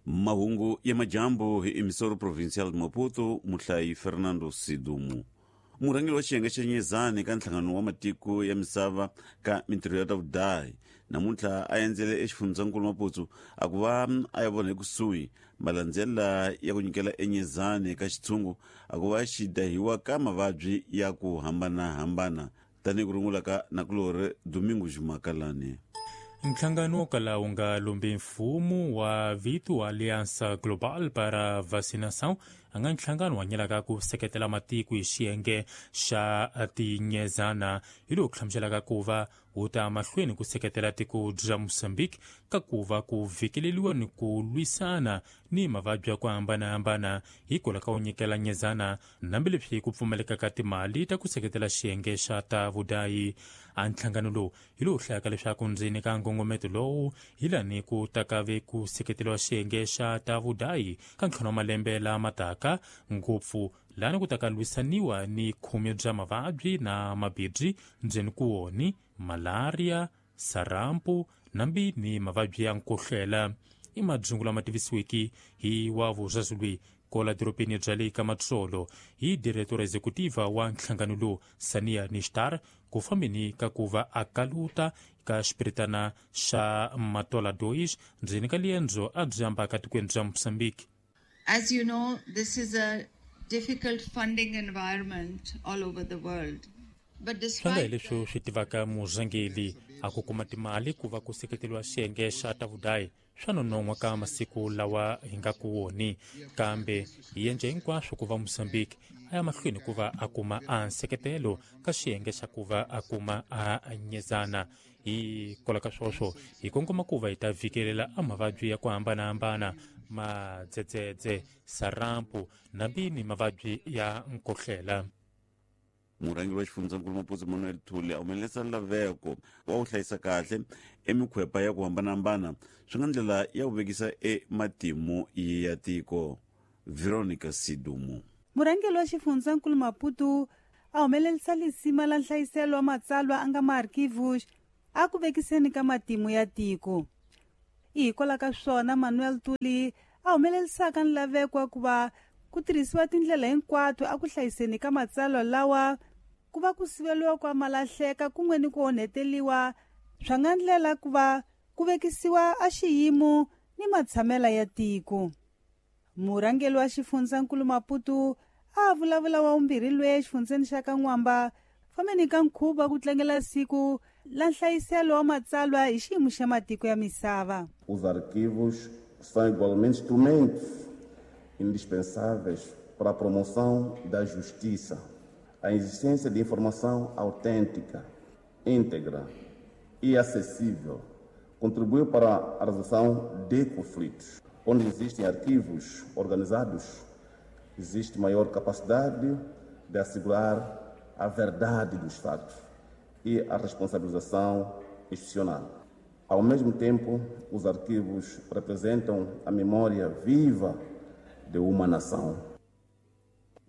Mahungu ya madyambu hi Emissora Provincial de Maputo, muhlayi Fernando Sidumo. Murhangeri wa xiyenge xa Nyezani ka nhlangano wa matiko ya misava ka mintirho ya ta vudahi namuntlha a endzele exifundzankulu Maputo a ku va a ya vona ekusuhi malandzela ya ku nyikela eNyezani ka xitshungu a ku va xi dahiwa ka mavabyi ya ku hambanahambana tanihi ku rungula ka nakulorhi Domingos Makalani. Nhlangano wo kala wu nga lombi mfumo wa vito wa Aliança Global para Vacinação a nga nhlangano wa nyelaka ku seketela matiko hi xiyenge xa tinyezana hi lowu hlamuselaka ku va wu ta mahlweni ku seketela tiko bya Mozambique ka ku va ku vhikeleliwa ni ku lwisana ni mavabyi ya ku hambanahambana hikwalaho ka ku nyikela nyezana hambileswi ku pfumaleka ka timali ta ku seketela xiyenge xa ta vudayi. A nhlangano lowu hi lowu hlayaka leswaku ndzeni ka nkongometo lowu hi lani ku takave ku seketeriwa xiyenge xa ta vudayi ka ntlhanu wa malembe lama taka, ngopfu lani ku taka lwisaniwa ni khume bya mavabyi na mabibyi ndzeni ku woni malaria, sarampu nambi ni mavabyi ya nkohlela. I madzungu lama tivisiweke hi wa vuzazulwi kola dorobeni bya le ka Matsolo hi diretora executiva wa nhlangano lowu Sania Nishtar ku fambeni ka ku va a kaluta ka xipiritana xa Matola 2 ndzeni ka liendzo a byi ambaka tikweni bya Mozambique. As you know, this is a difficult funding environment all over the world. But Swi nga hi despite leswi swi tivaka murhangeri a ku kuma timali ku va ku seketeriwa xiyenge xa ta vudayi swa nonon'hwa ka masiku lawa hi nga ku woni, kambe hi endla hinkwaswo ku va Mozambique a ya mahlweni ku va a kuma a nseketelo ka xiyenge xa ku va a kuma a nyezana. Hi kwala ka swoswo hi kongoma ku va hi ta vhikelela a mavabyi ya ku hambanahambana, madzedzedze, sarampu nambi ni mavabyi ya nkohlela. Murhangeri wa xifundzankulu Maputo Manuel Thuli a humelerisa laveko wa ku hlayisa kahle emikhwepa ya ku hambanahambana swi nga ndlela ya ku vekisa ematimu ya tiko. Veronica Sidumo. Murhangeri wa xifundzankulu Maputo a humelerisa lisima la nhlayiselo wa matsalwa a nga maarchivos a ku vekiseni ka matimu ya tiko. I hikwalaho ka swona Manuel Tuli a humelerisaka nlaveko wa ku va ku tirhisiwa tindlela hinkwato a ku hlayiseni ka matsalwa lawa ku va ku siveliwa kwa malahleka kun'we ni ku onheteliwa swa nga ndlela ku va ku vekisiwa a xiyimo ni matshamela ya tiko. Murhangeri wa xifundzankulu Maputo a vulavula wa vumbirhi lwe exifundzeni xa ka N'wamba fambeni ka nkhuvo ku tlangela siku la nhlayiselo wa matsalwa hi xiyimo xa matiko ya misava. Os arquivos são igualmente instrumentos indispensáveis para a promoção da justiça. A existência de informação autêntica, íntegra e acessível contribui para a resolução de conflitos. Onde existem arquivos organizados, existe maior capacidade de assegurar a verdade dos fatos e a responsabilização institucional. Ao mesmo tempo, os arquivos representam a memória viva de uma nação.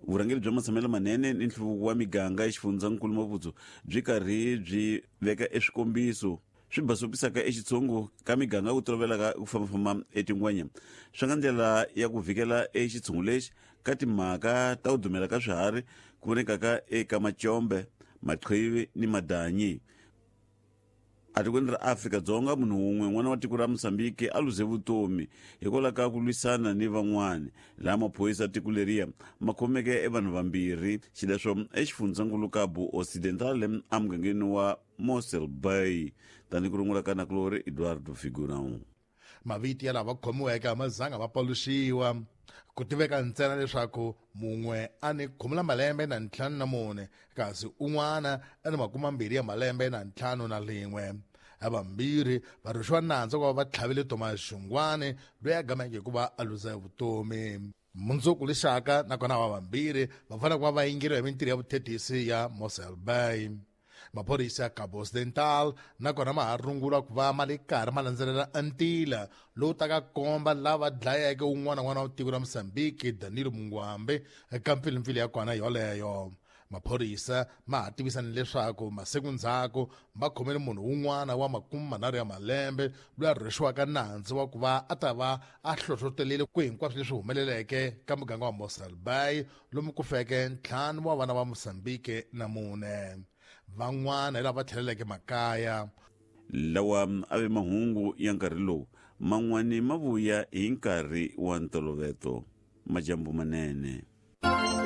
Vurhangeri bya matshamelo manene ni nhluvuko wa miganga exifundzankulu Maputo byi karhi byi veka eswikombiso swi basopisaka exitshungu ka miganga ku tolovelaka ku fambafamba etingwenya swi nga ndlela ya ku vhikela exitshungu lexi ka timhaka ta ku dumela ka swiharhi ku vonekaka eka macombe, maqhivi ni madanyi. Atikweni ra Afrika-Dzonga munhu wun'we n'wana wa tiko ra Mozambique a luze vutomi hikwalaho ka ku lwisana ni van'wani, laha maphorisa ya tiko leriya ma khomeke e vanhu vambirhi, xileswo exifundzankulu Cabo Ocidental emugangeni wa Mossel Bay, tanihi ku rungula ka nakulorhi Eduardo Figurão. Mavito ya lava khomiweke a ma zanga ma paluxiwa. Ku tiveka ntsena leswaku mun'we a ni khume la malembe na ntlhanu na mune kasi un'wana a ni makume mambirhi ya malembe na ntlhanu na lin'we. Havambirhi va rhwexiwa nandzu ku va va tlhavile Thomas Xungwani loyi a gameke hi ku va a luza vutomi. Mundzuku lexaka nakona ava vambirhi va fanele ku va va yingeriwa hi mintirho ya vuthethisi ya Mossel Bay. Maphorisa ya Cabo Occidental nakona ma ha rungula ku va ma le karhi ma landzelela ntila lowu taka komba lava dlayeke un'wana n'wana wa tiko ra Mozambique Danilo Mungwambe eka mpfilimpfili ya kona yoleyo. Maphorisa ma ha tivisa ni leswaku masiku ndzhaku va khomele munhu wun'wana wa 30 ya malembe loyi a rhwexiwaka nandzu wa ku va a ta va a hlohlotelile ku hinkwaswo leswi humeleleke ka muganga wa Mossel Bay, lomu ku feke 5 wa vana va Mozambique na 4 van'wana hi lava tlheleleke makaya. Lawa a ve mahungu ya nkarhi lowu, man'wani ma vuya hi nkarhi wa ntoloveto. Majambu manene.